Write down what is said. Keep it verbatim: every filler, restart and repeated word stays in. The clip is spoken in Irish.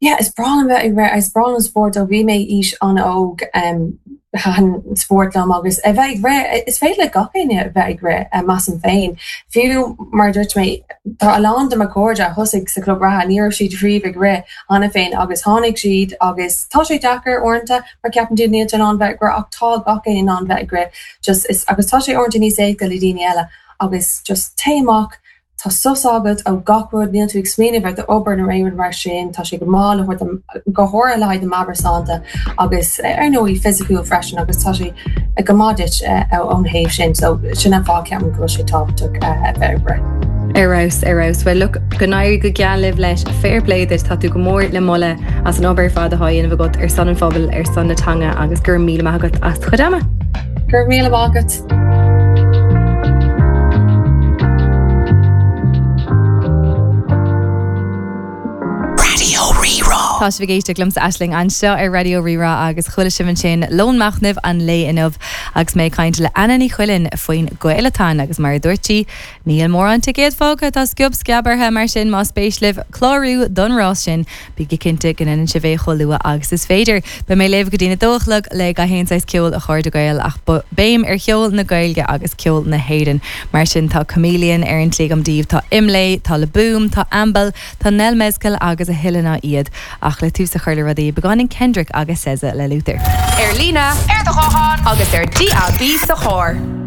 Yeah, is breá liom bheith ag rith, is breá liom spórt ó bhí mé aois an-óg um, thaitin spórt liom agus a bheith ag rith, is féidir le gach éinne a bheith ag rith measaim féin. Fiú mar dúirt mé tá a lán de mo chairde a thosaigh sa club reatha, ní raibh siad riamh ag rith cheana féin agus tháinig siad agus tá sé deacair uaireanta mar ceapann tú níl in ann bheith ag rith ach tá gach éinne in ann bheith ag rith just is agus tá sé uaireanta níos éasca le daoine eile agus just téigh amach Tá sos agat ó gach rud níl tú ag smaoineamh ar d'obair nó aon rud mar sin, tá sé go maith le go háirithe le haghaidh do mheabhairshláinte agus ar ndóigh fisiciúil freisin agus tá sé go maith duit ón thaobh sin, so sin an fáth ceapaim go bhfuil sé tábhachtach a bheith ag rith. Ar fheabhas ar fheabhas well look go n-éirí go geal libh leis fair play duit tá tú go mór le moladh as an obair fad atá á dhéanamh agat ar son an phobail ar son na teanga agus gur míle maith agat as do chuid ama. Gur míle maith agat. Raidió Rí-Rá. Tá sibh ag éisteacht liomsa Aisling anseo ar Raidió Rí-Rá agus chuala sibh ansin lón machnaimh an lae inniu agus mé ag caint le Anna Ní Chuilinn faoin Gaelathon agus mar a dúirt sí, níl mórán ticéad fágtha tá sciob sceab orthu mar sin más spéis libh clárú don rás sin Bígí cinnte go ndéanann sibh é chomh luath agus is féidir. Beidh mé libh go dtí'n a dó a chlog le gach aon saghas ceoil a chairde Gael ach béim ar cheol na Gaeilge agus ceol na hÉireann. Mar sin tá Chameleon ar an tslí agam daoibh, tá Imlé, tá Le Boom, tá Ambel, tá Nell Mezcal agus a thuilleadh ná iad. Ach le tús a chur le rudaí, beagáinín Kendrick agus SZA le Luther. Ar líne, ar do ghuthán agus ar DAB sa charr.